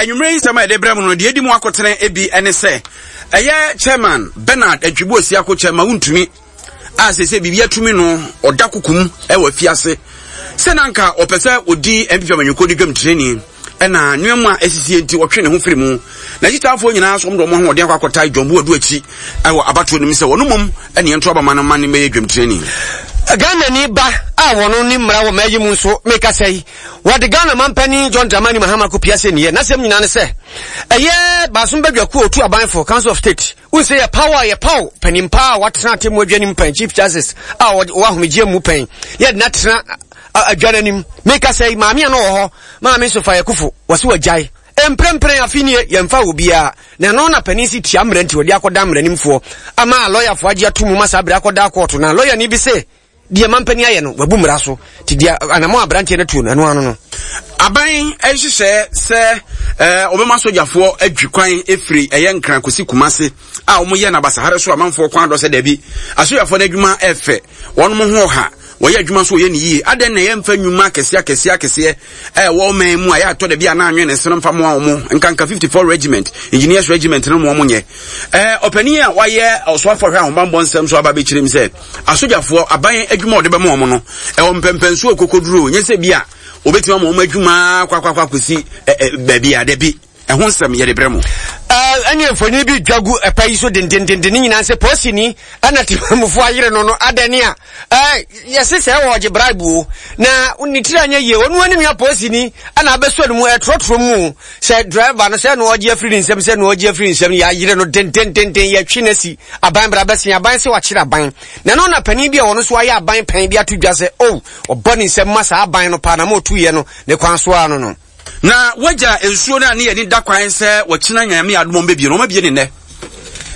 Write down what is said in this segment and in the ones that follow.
anwummerɛ yi nsɛm a yɛde brɛ mu no deɛ ɛdi mu akotene bi ne sɛ ɛyɛ chairman Bernard Antwibu Osiako chairman wontumi a sese biribi atumi no ɔda kokom wɔ afiase sɛ na anka ɔpɛ sɛ ɔdi NPP amanyɔkuo no dwam tirani ɛna nneɛma a ɛsisie nti ɔtwe ne ho firi mu na akyitaafoɔ nyinaa nso wɔn de wɔn ahoɔden akɔ akɔtae John Boadu akyi wɔ abatoɔ no mu sɛ wɔn mmom ɛne ɛnto abama no ma ne mmɛyɛ dwam tirani. Ghanani ba a wɔn ne mmara wɔ mmaa yi mu nso mekasa yi wɔde Ghana mampanin John Dramani Mahama kɔ pia sɛ niyɛ n'asɛm nyinaa ne sɛ ɛyɛ baasom badwakuo otu abanfo Council of State Wohu sɛ yɛpaw a yɛpaw panin pa a watena atemmu adwa no mu pɛn, Chief Justice a ɔwɔ ahomegyeɛ mu pɛn, na yɛde no atena adwa no anim. Meka sɛ maame a na ɔwɔ hɔ, Maame Sophia Akufo, wɔse wagyae. Mprempren afe nie, yɛmfa obiara. Na ɛno na panin si tia mmara nti wɔde akɔda mmaranimfoɔ ama lɔyafoɔ agye ato mu ma saa bere akɔda kɔɔto. Na lɔyani bi se Deɛ mampanin ayɛ no, wabu mmara so. Nti deɛ anamɔ a aberanteɛ no tuo no, ɛno ano no. Aban nhyehyɛɛ sɛ wɔbɛma sogyafoɔ adwi kwan firi ɛyɛ Nkran kɔsi Kumase a wɔyɛ no abasahare so amanfoɔ kwan dɔ sɛ dabi. Asogyafoɔ no adwuma ɛfɛ, wɔn ho ɔha, wɔyɛ adwuma nso wɔyɛ no yie. Adɛn na yɛmfa nnwuma akɛseɛ akɛseɛ akɛseɛ a ɛwɔ ɔman mu a yɛatɔ da bi a na anwene ne sene mfa mmoa wɔn, nkanka 54 Regiment, Engineers Regiment no mmoa wɔn nyɛ. Ɔpanin a wayɛ ɔsoafoɔ hwɛ ahobammɔ nsɛm so aba abɛkyerɛ mu sɛ Asogyafoɔ, aban adwuma a wɔde bɛma wɔn no, ɛwɔ mpɛmpɛnsoɔ okokoduro, nyɛ sɛ bi a wɔbɛtumi ama wɔn adwuma akɔ akɔ akɔsi baabi a, dabi, ɛho nsɛm yɛde brɛ mo. Ɛne mfonini bi dwa gu ɛpa yi so dendendenden ne nyinaa sɛ polisini ɛna temamufoɔ ayere no no adɛne a yɛse sɛ ɛwɔ ɔgye bribe o na ne tiri anyɛ yie ɔno anim ya polisini ɛna abɛsɔ no mu ɛtrɔtrɔ mu sɛ driver no sɛ na ɔgye afiri ne nsam sɛ na ɔgye afiri ne nsam yɛayere no dendendenden yɛtwe no asi Aban bra bɛsen aban sɛ wakyere aban. Na ɛno na panin bi a ɔno nso ayɛ aban pɛn de ato dwa sɛ, oh, ɔbɔ ne nsam ma saa aban no paa na ma ɔtuiɛ no ne kwan so ara no no. Na wagya nsuo no a ne yɛni da kwan sɛ wɔkyena Nyame adom wɔn bɛbie no, wɔn abie ne nnɛ.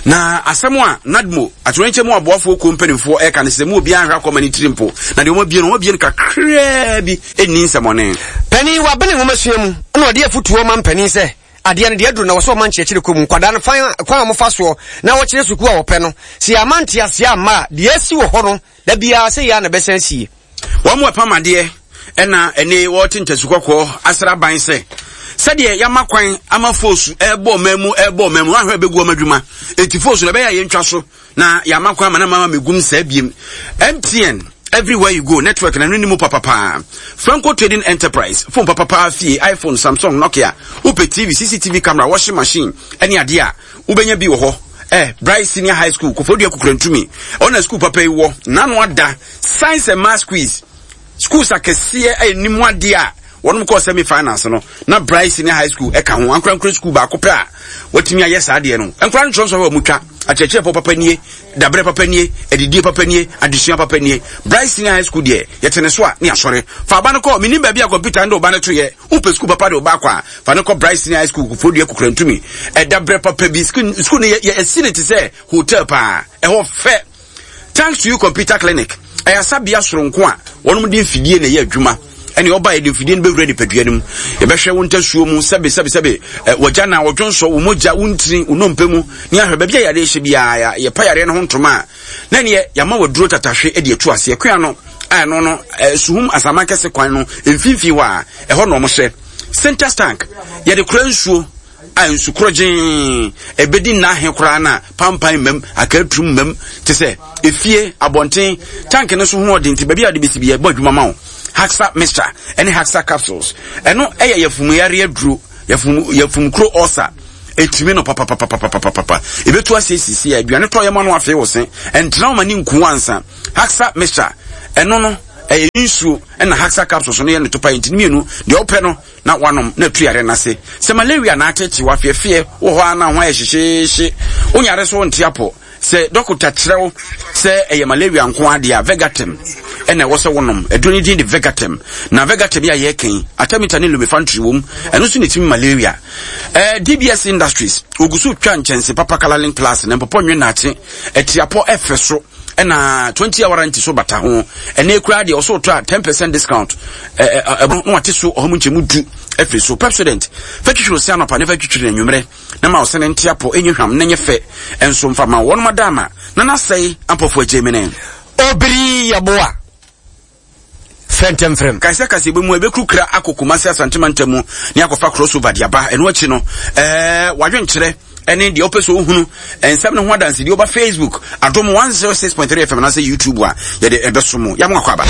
Na asɛm a NADMO, atoyerɛnkyɛm mu aboafoɔ kuo mpanimfoɔ ɛka ne sɛ mu obiara nhwɛ akɔma ne tiri mpo, na deɛ wɔn abie no, wɔn abie no kakraa bi, ɛnni nsɛmɔne. Panin, wabene nwomasua mu na ɔde afutuo ma mpanin sɛ, Adeɛ no deɛ aduru na wɔ sɛ ɔma nkyerɛkyerɛ kɔ mu. Nkwadaa no fan kwan a wɔfa soɔ na wɔkyerɛ sukuu a wɔpɛ no, sɛ yɛamma nteaseɛ amma a, deɛ asi wɔ hɔ no, da biara sɛ yei ara na ɛbɛsan asie. Wɔn a ɛpam adeɛ na ɛne wɔte ntasu kɔkɔɔ asra ban sɛ sɛdeɛ yɛama kwan ama foosu ɛrebɔ ɔman mu ɛrebɔ ɔman mu ahwɛ ɛbɛgu wɔn adwuma eti foosu na ɛbɛyɛ a yɛntwa so na yɛama kwan ama na mama megum saa biem MTN everywhere you go network na no ni mu papapaa Franco Trading Enterprise phone papapaa fie iPhone Samsung Nokia wopɛ TV CCTV camera washing machine ɛne adeɛ a wobɛnya bi wɔ hɔ eh Bright Senior High School Kofodua Kukurantumi ɔna school papa yi wɔ nano ada Science and Maths quiz Schools akɛseɛ a ɛnim adeɛ a wɔnom kɔɔ semi finals no na Bright Senior High School ɛka ho ankorankora school baako pɛ a wɔatumi ayɛ saa adeɛ no nkora no kyerɛ nsɔhwɛ wɔn twa akyerɛkyerɛfoɔ papa nie dabrɛ papa nie adidie papa nie adesua papa nie Bright Senior High School deɛ yɛte ne so a ne asɔre fa aba no kɔ menim baabi a kɔmputa no de ɔba no to yɛ wopɛ school papa de ɔba akɔ a fa no kɔ Bright Senior High School Koforidua Kukurantumi ɛdabrɛ papa bi school no yɛsi ne te sɛ hotel paa ɛhɔ fɛ Thanks to you computer clinic ɛyɛ asabea soronko a wɔnom de mfidie na ɛyɛ adwuma ɛne ɔba yɛde mfidie no bɛwura nipadua no mu yɛbɛhwɛ wo ntasuo mu sɛbe sɛbe sɛbe wɔgya na wɔdwonsɔ wo mogya wo ntini wo nnompe mu ne ahwɛ baabi a yareɛ hyɛ biara yɛpa yareɛ no ho ntoma a na neɛ yɛama waduro tatahwe de atu aseɛ kua no a ɛno no suhum asaman kɛse kwan no mfimfini hɔ a ɛhɔ na wɔhyɛ center tank yɛde kora nsuo a nsu korɔgyee ɛbɛdi nna ahe koraa na pampan mmam akaturum mmam te sɛ efie abɔnten tank no so ho ɔden nti baabi a wɔde bɛsi bi ɛbɔ adwuma ma wo haxa mixture ɛne haxa capsules ɛno ɛyɛ yafumuyare aduro yafum yafumkuro ɔsa ɛtumi no papapapapapapa ɛbɛtu ase sisi a aduane tɔ yɛ ma no afei wo se ɛntena wo ma ne nku ansa haxa mixture ɛno no ɛyɛ nsuo ɛna haxa capsules no yɛ ne topa nti mmienu deɛ wopɛ no na wanom na atu yare no ase. Sɛ malaria na ateetee wo, afeɛfeɛ wɔ hɔ ara na ho ayɛ hyehyeehye, wo nyare so wonte apɔ. Sɛ dɔkota kyerɛ wo sɛ ɛyɛ malaria nko ara deɛ a, Vegatem ɛna ɛwɔ sɛ wonom. Aduro no din de Vegatem. Na Vegatem yi a yɛreka yi, Artemether ne Lumefantrine wom. Ɛno nso na ɛtumi malaria. Eh, DBS Industries, wɔgu so twa nkyɛnse papa Colourlink Plus na mpɔpɔ nwe naakye, atiapɔ ɛfɛ so. ɛna 20 hour warranty so bata ho ɛnɛ koraa deɛ ɔsɛ ɔtɔ a 10 percent discount ɛɛ na wate so ɔha mu nkyɛmu du afiri so Pepsodent fɛ twitwiri ɔsɛ anɔpa ne fɛ twitwiri anwummerɛ na ma ɔsɛ ne nte apɔ ɛnyɛ hwam na nyɛ fɛ ɛnso mfa ma wɔn ma dama na n'asɛe ampɔfo agyemene. Obiri yɛboa. Frɛ ntɛm frɛ m. Kae sɛ kaseɛbɔ mu a ɛbɛkuru kra akɔ Kumasi Asante mantam mu ne akɔfa crossover de aba. Ɛno akyi no, ɛɛ w'adwenkyerɛ ɛne deɛ wopɛ sɛ wohunu nsɛm no ho adansedie woba Facebook Adom 106.3 FM anaasɛ YouTube a yɛde ɛbɛso mo. Yɛamo akɔ aba.